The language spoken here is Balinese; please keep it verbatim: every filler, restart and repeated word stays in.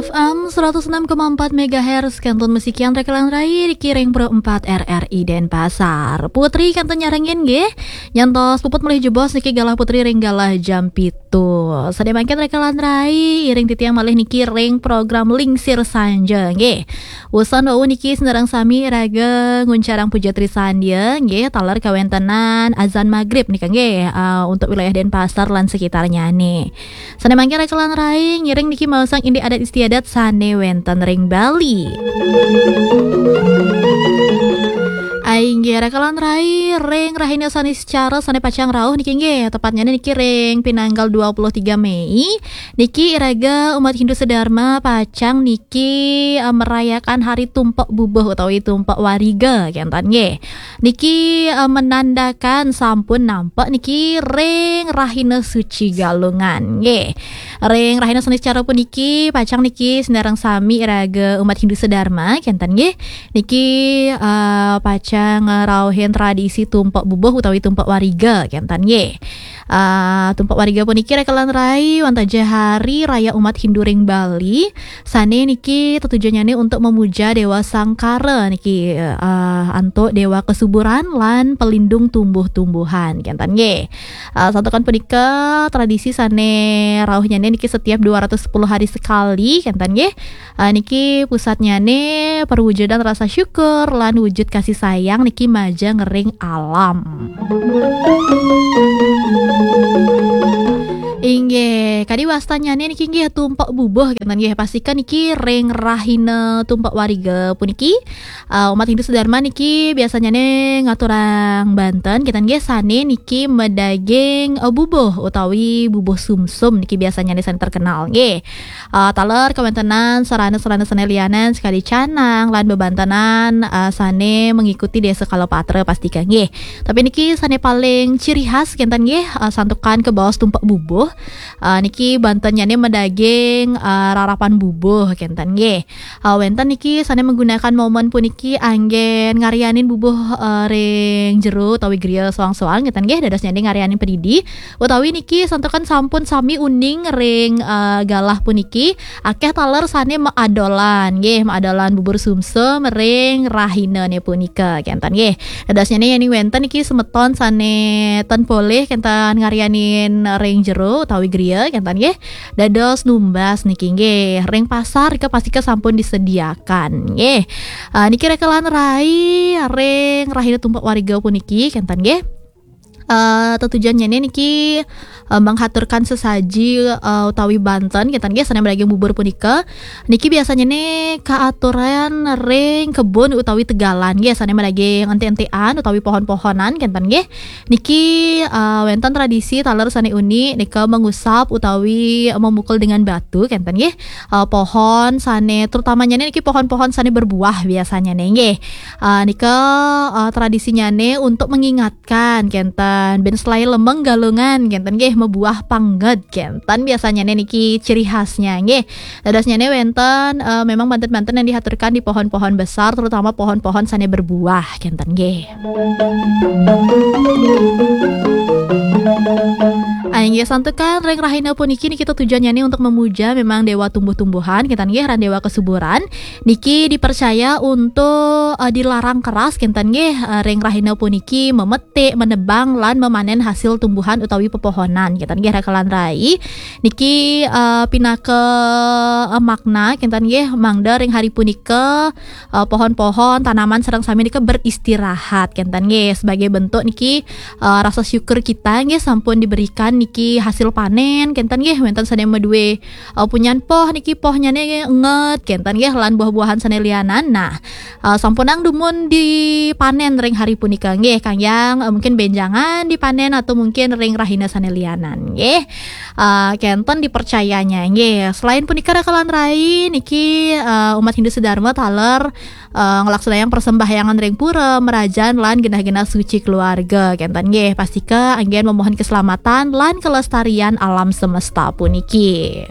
F M seratus enam koma empat megahertz, kantun musikian rekelan rai di Kiring Pro empat R R I Denpasar. Putri kantun nyarengin nggih. Nyantos puput melih jebos niki galah Putri ring galah jam pitu. Sadaya mangkin rekelan rai, iring titiang malih niki ring program Lingsir Sanja nggih. Usan wau niki sinareng sami iraga nguncarang puja trisandia nggih, taler kawentenan azan magrib nika nggih, ah, untuk wilayah Denpasar lan sekitarnya nih. Sane mangkin rekelan rai, ngiring niki maosang indik adat istiadat sane wenten ring Bali. Inggih rekelan rai, ring rahina Saniscara sane pacang rauh niki nggih, tepatnya niki ring pinanggal dua puluh tiga Mei, niki iraga umat Hindu sedharma pacang niki, eh, merayakan hari Tumpek Bubuh utawi Tumpek Wariga kenten nggih. Niki, eh, menandakan sampun nampek niki ring rahina suci Galungan nggih. Ring rahina Saniscara puniki pacang niki sinareng sami iraga umat Hindu sedharma kenten nggih. Niki, eh, pacang ngrauhin tradisi Tumpek Bubuh utawi Tumpek Wariga kenten nggih. Eh, Tumpek Wariga puniki rekelan rai wantah ja hari raya umat Hindu ring Bali. Sane niki tetujuannya untuk memuja Dewa Sangkara niki, eh, antuk Dewa Kesuburan lan pelindung tumbuh-tumbuhan kenten nggih. Eh, santukan punika tradisi sane rauhnya niki setiap dua ratus sepuluh hari sekali kenten nggih. Eh, niki pusatnya nih perwujudan rasa syukur lan wujud kasih sayang niki majeng ring alam. Inggih, kadi wastanyane niki nggih Tumpek Bubuh kenten nggih. Pastika niki ring rahina Tumpek Wariga puniki, eh, umat Hindu sedharma niki biasanyane ngaturang banten kenten nggih, sane niki medaging, eh, bubuh utawi bubuh sumsum niki biasanyane sane terkenal nggih. Eh, taler kawentenan sarana-sarana sane lianan sakadi canang lan bebantenan, eh, sane mengikuti desa Kalapatra pastika nggih. Tapi niki sane paling ciri khas kenten nggih, eh, santukan kabaos Tumpek Bubuh. Eh, niki bantennyane medaging, eh, rarapan bubuh kenten nggih. Eh, wenten niki sane menggunakan momen puniki anggen ngarianin bubuh, eh, ring jero utawi griya soang-soang kenten nggih, dadosnyane ngarianin padidi. Utawi niki santukan sampun sami uning ring, eh, galah puniki, akeh taler sane maadolan nggih, maadolan bubur sumsum ring rahinane punika kenten nggih. Dadosnyane yening wenten niki semeton sane ten polih kenten ngarianin ring jero utawi griya kenten nggih. Dados numbas niki nggih, ring pasar nika pastika sampun disediakan nggih. Eh, niki rekelan rai ring rahina Tumpek Wariga puniki kenten nggih. Eh, tetujuannya niki, eh, menghaturkan sesaji, eh, utawi banten kenten nggih, sane medaging bubur punika. Niki biasanya nih kaaturan ring kebun utawi tegalan nggih, sane medaging enti-entian utawi pohon-pohonan kenten nggih. Niki, eh, wenten tradisi taler sane unik nika mengusap utawi memukul dengan batu kenten nggih. Eh, pohon sane terutamanya niki pohon-pohon sane berbuah biasanya nih nggih. Eh, nika, eh, tradisinya nih untuk mengingat kan kenten ben selai lemeng Galungan kenten nggih, mebuah pangget kenten biasanya niki ciri khasnya nggih. Dadosnya nih wenten, eh, memang banten-banten yang dihaturkan di pohon-pohon besar, terutama pohon-pohon sane berbuah kenten nggih. Ayo nggih, santukan ring rahina puniki niki tujuannya nih untuk memuja memang dewa tumbuh-tumbuhan kenten nggih, ran dewa kesuburan. Niki dipercaya untuk, eh, dilarang keras kenten nggih, eh, ring rahina puniki memetik, menebang lan memanen hasil tumbuhan utawi pepohonan kenten nggih rekelan rai. Niki, eh, pinaka, eh, makna kenten nggih, mangda ring hari punika, eh, pohon-pohon, tanaman sareng sami nika beristirahat kenten nggih, sebagai bentuk niki, eh, rasa syukur kita nggih sampun diberikan niki hasil panen kenten nggih, wenten sane madue, eh, punyan poh niki pohnyane nget kenten nggih, lan buah-buahan sane lianan. Nah, eh, sampunang dumun dipanen ring hari punika nggih, kayang, eh, mungkin benjangan dipanen atau mungkin ring rahina sane lianan nggih. Eh, kenten dipercayanya nggih. Selain punika rekelan rai niki, eh, umat Hindu sedharma taler, eh, nglaksanayang persembahyangan ring pura, merajan lan genah-genah suci keluarga kenten nggih. Pastika anggen memohon keselamatan lan kelestarian alam semesta puniki.